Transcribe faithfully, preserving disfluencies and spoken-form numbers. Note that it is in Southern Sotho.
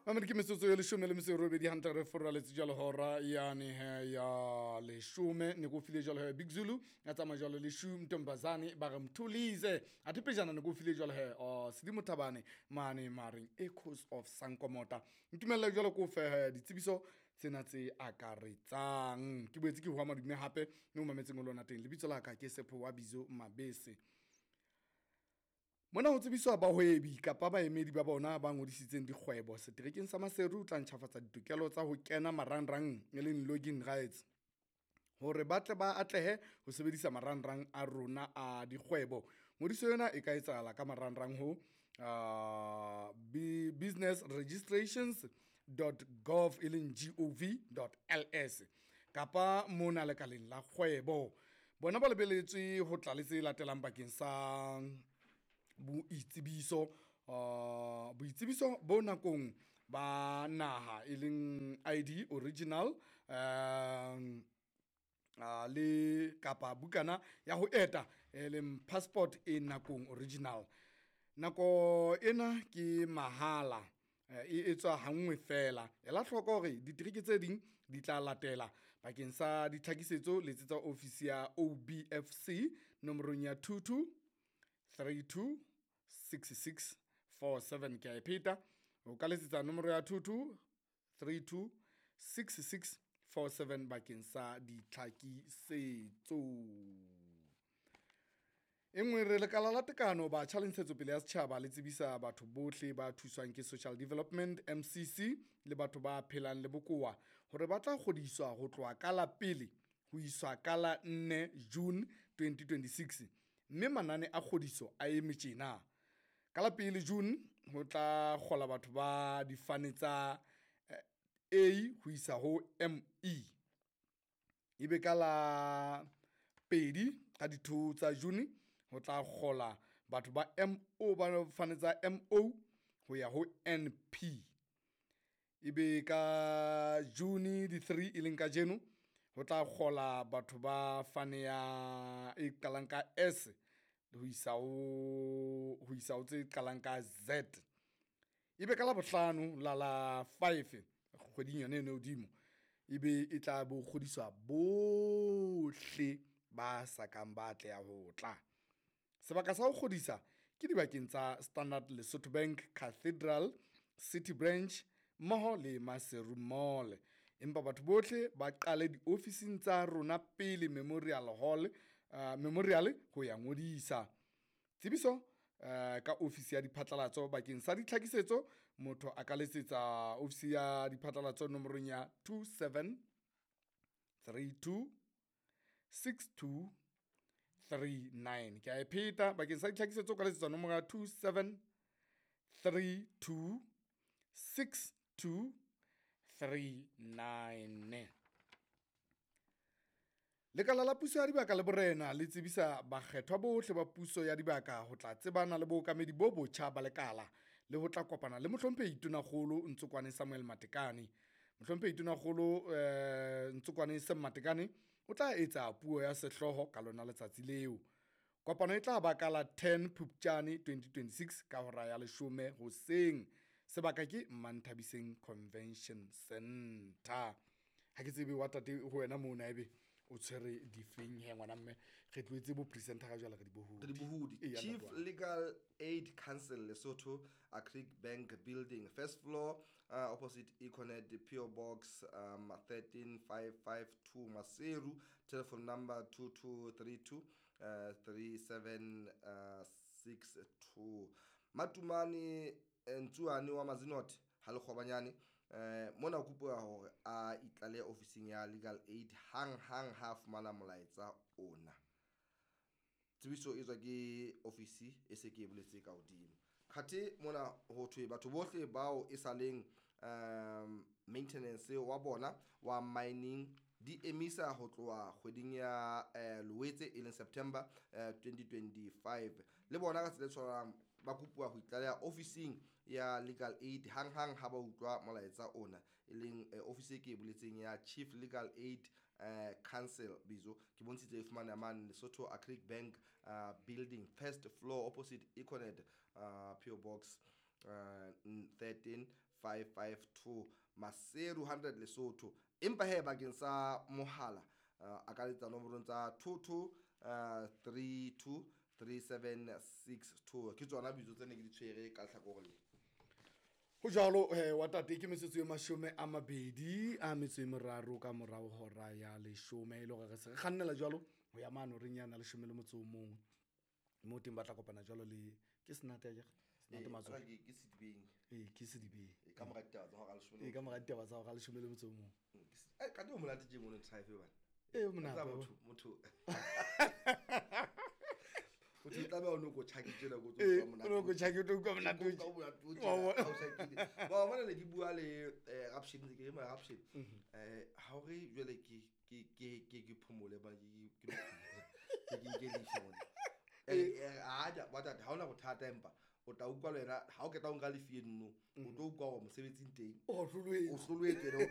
Mamedi, ke metsotso e leshome le metso e robedi hantle re foraletse jalo hora yane he ya leshome. Ne ko file jalo he Big Zulu ya tsamaya jalo le Shu Ntombazane, ba re Mthulize. Athe pejana ne ko file jalo he oh, Sedimo Thabane mane mareng Echoes of Sankomota. Ntumelle jalo ko fe he ditsebiso tsena tse akaretsang. Ke boetse ke hwa madume hape mme o mametseng o lona teng. Lebitso la ka ke Sepho wa Bizo Mabese. Mona ho tsebiswa bahwebi kapa baemedi ba bona ba ngodisitseng dikgwebo seterekeng sa Maseru o tla ntjhafatsa ditokelo tsa ho kena marangrang, e leng login rights, hore ba tle ba atlehe ho sebedisa marangrang a rona a dikgwebo. Ngodiso ena e ka etsahala ka marangrang ho uh, business registrations dot gov, e leng gov dot ls, kapa mona lekaleng la kgwebo. Bona ba lebeletswe ho tla le tse latelang bakeng sa boitsebiso, uh, boitsebiso bo nakong ba naha, e leng I D original, um uh, le kapa bukana ya ho eta, e leng passport e nakong original. Nako ena ke mahala, e etswa hanngwe fela. Ela hloko hore ditereke tse ding di tla latela. Bakeng sa ditlhakisetso letsetsa ofisi ya O B F C nomorong ya two two three two six six four seven. Ke a e pheta, o ka letsetsa nomoro ya two two three two six six four seven bakeng sa ditlhakisetso. E nngwe re lekala la tekano batjha le ntshetsopele ya setjhaba le tsebisa batho bohle ba thuswang ke Social Development M C C le batho ba phelang le bokowa hore ba tla kgodiswa ho tloha ka la pele ho iswa ka la nne June twenty twenty-six, mme manane a kgodiso a eme tjena. Ka la pele June ho tla kgola batho ba difane tsa A ho isa ho M E. Ebe ka la pedi ka di-two tsa June ho tla kgola batho ba M O, ba fane tsa M O ho ya ho N P. Ebe ka June di three e leng kajeno ho tla kgola batho ba fane ya e qalang ka S ho isa ho, ho isa ho tse qalang ka Z. Ebe ka la bohlano la la five kgweding yona eno hodimo, ebe e tla bo kgodiswa bohle ba sa kang ba atleha ho tla. Sebaka sa ho kgodisa ke dibakeng tsa Standard Lesotho Bank, Cathedral, City Branch mmoho le Maseru Mall. Empa batho bohle ba qale diofising tsa rona pele Memorial Hall, uh, Memorial ho ya ngodisa. Tsebiso uh, ka ofisi ya diphatlalatso bakeng sa ditlhakisetso, motho a ka letsetsa ofisi ya diphatlalatso nomorong ya two seven three two six two three nine. Ke a e pheta, bakeng sa ditlhakisetso ka letsetsa nomoro ya two seven three two six two three nine. Lekala la puso ya dibaka le borena le tsebisa bakgethwa bohle ba puso ya dibaka ho tla tsebana le bookamedi bo botjha ba lekala le ho tla kopana le mohlomphehi Tonakgolo Ntsokwane Samuel Matekane. Mohlomphehi Tonakgolo eh, Ntsokwane Sam Matekane o tla etsa puo ya sehlooho ka lona letsatsi leo. Kopano e tla ba ka la ten Phupjane twenty twenty-six ka hora ya leshome hoseng. Sebaka ke Manthabiseng Convention Center. Ha ke tsebe wa tate ho wena mona ebe o tshwere difeng he ngwana mme, re tlohetse bo presenter ga jwale re di bohodi. Re di bohodi. Eya, Chief ntate wa. Legal Aid Council Lesotho, Agric Bank Building, first floor, uh, opposite Econet, P O Box, um, thirteen five five two Maseru, telephone number two two three two, uh, three seven, uh, six two. Matumane Ntsuane wa Mazinot ha Lekgobanyane, eh, mona o kopuwa hore a itlale ofising ya Legal Aid hang hang ha fumana molaetsa ona. Tsebiso e tswa ke ofisi e se ke e boletse ka hodimo. Khathe mona ho thwe batho bohle bao e saleng, um, maintenance wa bona wa mining di emisa ho tloha kgweding ya, eh, Loetse e leng September, eh, twenty twenty-five. Le bona ka tsela e tshwanang ba kopuwa ho itlaleha ofising ya Legal Aid hang hang ha ba utlwa molaetsa ona, e leng, eh, ofisi e ke e boletseng ya Chief Legal Aid, eh, Council bizo ke bontshitse e fumaneha mane Lesotho Agric Bank, eh, Building, first floor, opposite Econet, eh, P O Box, eh, thirteen five five two Maseru hundred Lesotho. Empa he bakeng sa mohala uh, a ka letsa nomorong tsa two two uh, three two three seven six two. Ke tsona bitso tse ne ke di tshwere ka lehlakore le. Ho jwalo eh wa tate ke metsotso e mashome a mabedi a metso e meraro ka morao hora ya leshome e le hore re se re kgannela jwalo ho ya mane horeng yana leshome le motso o mong. Mo teng ba tla kopana jwalo le ke Senate akere? Senate Eh, Matsoho. ke ke Sedibeng. Ee, ke Sedibeng. Eh, ka mora ditaba tsa hora leshome le Ee, ka mora ditaba tsa hora leshome le motso o mong. Mm, ke se- eh, kante o monate tje mono tribe bana. Ee, o monate, Tseba wa. motho motho. Motho o tlameha o no ko tjhaki tjena ko tso Ee, utlwa monate. o no ko tjhaki o tlo utlwa monate o Ko utlwa monate o Wa bona. tjena, ha o tjhakile. Wa bona ne ke bua le, eh, Rapshin, ke re Rapshin. Mhm. Eh, ha o re jwale ke ke ke ke ke phomole bana ke ke ke ke ke nke leave mona. Eh, eh, ha ja, wa tata, ha hona bothata empa o tla utlwa le wena ha o qeta ho nka leave eno, o tlo utlwa hore mosebetsing teng. O hloloetswe. O hloloetswe, o tlo